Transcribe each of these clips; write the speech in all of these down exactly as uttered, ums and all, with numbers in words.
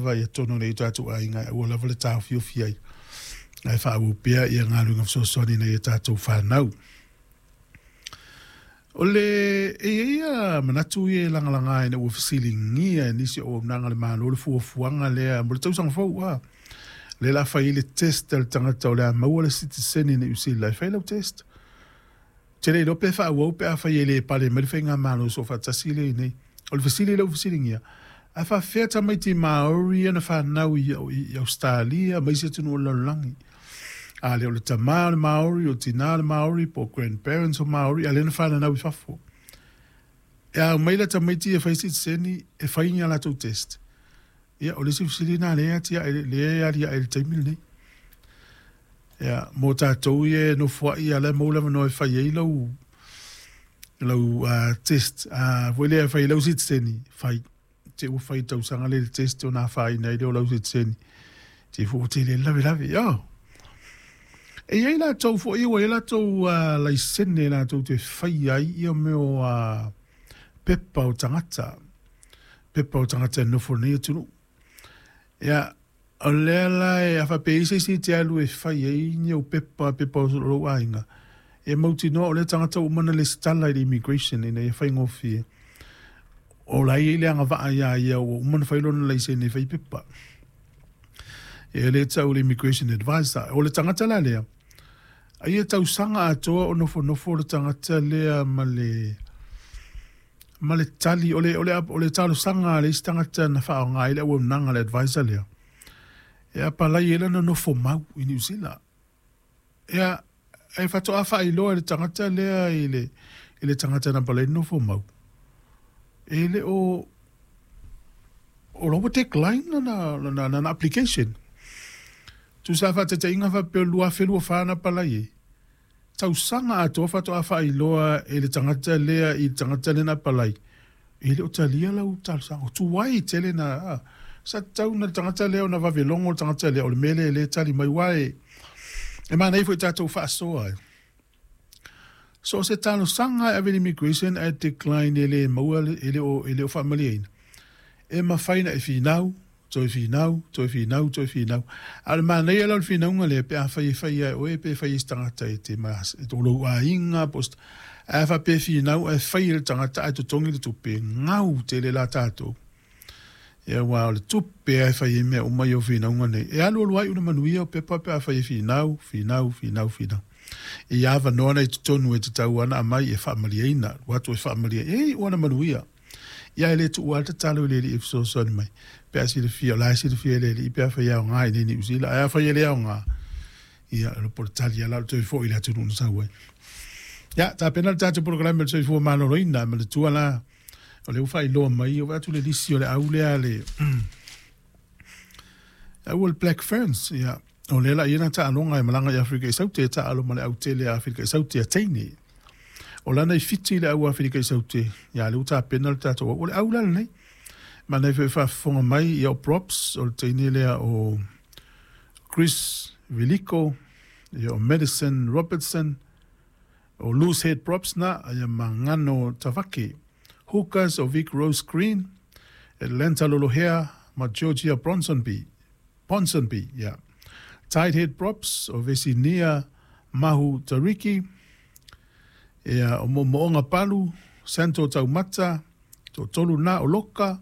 lava ia tonu nei tatou aiga e aua lava le taofiofi ai ae faaauau pea ia galuega fesoasoani ina ia tatou fanau. O le e i ai ia manatu ia e lagalaga ina ua fesiligia e nisi o auaunaga a le Malo le fuafuaga lea mo le tausaga fou a lea o le a fai ai le test a le tagata o le a maua le sitiseni i Niu Sila e fai lau test. Ou te le iloa pe faaauau pe afai e le pale mai le faigamalo soofaatasi lea i inei. O le fesili lea ua fesiligia, a faapefea tamaiti Maori ia na fanau i Ausetalia ma isi atunuu o le lalolagi? A lea o le tama o le Maori, o le tina o le Maori, po o grandparents o Maori, a lea na fananau i fafo. E a omai la tamaiti ia e fai sitiseni, e fai ni a latou test? Ia, o le isi fesili lena lea e atiae, lea e aliae i le taimi lenei. Ia, mo tatou ia e nofoai, a o la e maua le avanoa e fai ai lau lau uh, test uh, foi lea e fai ai lau sitiseni, fai. Te ua fai tausaga lea i le test ona afaina ai lea o lau sitiseni. Te fua tele lavelave. Oh. E i ai latou foi ua i ai latou uh, laisene latou te fai ai ia mea o uh, pepa o tagata. Pepa o tagata e nofo nei atunuu. Ia, o lea la e a faapea i se isi te alu e fai ai ni au pepa, pepa o lou aiga, e mautinoa o lea tagata ua uma ona lesitala i le immigration ina ia faigofie. O la e i ai le agavaa ia ia ua uma ona fai lona laisene e fai pepa. E le tau le immigration advisor. O le tagata la lea, ai e tausaga atoa o nofonofo le tagata lea ma le ma le tali o le o le o le talosaga a le isi tagata na faaaoga ai le auaunaga a le advisor lea e apalai ai lana nofo mau i Niu Sila. Ia, e faatoa faailoa e le tagata lea i le i le tagata na apalai nofo mau, e le o o la ua decline lana lana lana application. Tusa faataitaiga faapea o le lua afe lua fa na apalai ai, tausaga atoa faatoa faailoa e le tagata lea i le tagata lea na apalai, e le o talia lau talosaga. O tuai tele na sa tatau na le tagata lea ona vave logo le tagata lea o le mea lea e le tali mai aua e e manaia foi tatou faasoa. So o se talosaga e ave i le immigration ae decline e le maua e le o e le o faamalieina, e mafai ona e finau, toe finau, toe finau, toe finau. A o le manaia la o le finauga lea pe afai e fai ia e oe pe fai e se tagata e te e o lou aiga po o se ae faapea e finau ae fai e le tagata ae totogi le tupe, gau tele la tatou. Ia aua o le tupe lava e fai ai mea uma ia o finauga nei. E alualu ai una manuia o pepa pe afai e finau, finau, finau, finau. I avanoa na i totonu e tatau ana aumai e faamalieina, alu atu e faamalie, e iu ana manuia. Ia e le tuua lava le tatalo i le Alii e fesoasoani mai, pe a silafia, o la e silafia e le Alii pe afai e aoga i inei i Niu Sila, ae afai e le aoga, ia, o le tali lava la o le toe foi i le atunuu na sau ai. Ia, tapena le tatou polokalame o le soifua maloloina, manatua la, o lea ua faailoa mai, ua vaai atu le lisi o le au lea a le au o le Black Ferns, ia, o lea la i ai lana taaloga e malaga i Aferika i Saute e taalo ma le au tele a Aferika i Saute a teine. O lana i Fiti le au Aferika i Saute, ia, lea ua tapena le tatou au. O le au la lenei. Manaia foi e faafofoga mai, ia, o Props, o le teine lea o Chris Viliko, ia, o Madison Robertson, o Loose Head Props na, ia, ma Ngano Tavake. Hookers o Vic Rose Green, Atlanta Lolohea ma Georgia Bronsonby, Ponsonby, ia. Tight Head Props o Vesinia Mahu Tariki, ia, o Moomooga Palu, Santo Taumata, toatolu na o Loka,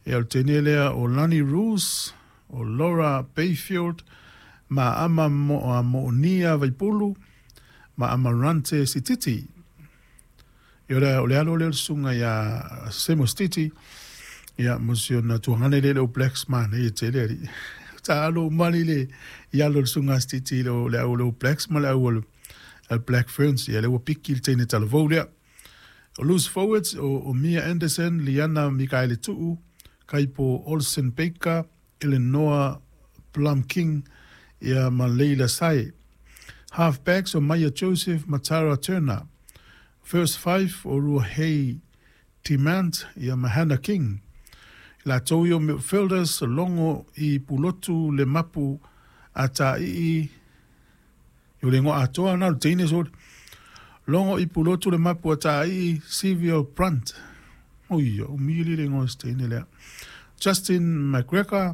ia, o le teine lea o Lani Roos, o Laura Bayfield, ma Ama Moonia Vaipulu, ma Amarante Sititi. Ia, o le, o le alo lea o le susuga ia Semo Sititi, ia, mo si ona tuagana lea i le All Blacks, manaia tele alii. Taalo uma alii le i alo o le susuga a Sititi i le, le au o le All Blacks ma le au o le Black Ferns. Ia, lea ua piki le teine talavou lea. O loose forwards, o, o Mia Anderson, Liana Mikaele Tuu, Kaipo Olsen Baker, Eleanor Plum King, ia, ma Leila Sae. Half backs o Maia Joseph ma Tara Turner. First five o Ruahei Demant ia ma Hannah King. I latou ia o midfielders, Logo i Pulotu le Mapu a Taii, o le igoa atoa na o le teine sole. Logo i Pulotu le Mapu a Taii, Sylvia Brunt. Oi, o umi le igoa o se teine lea. Justin McGregor,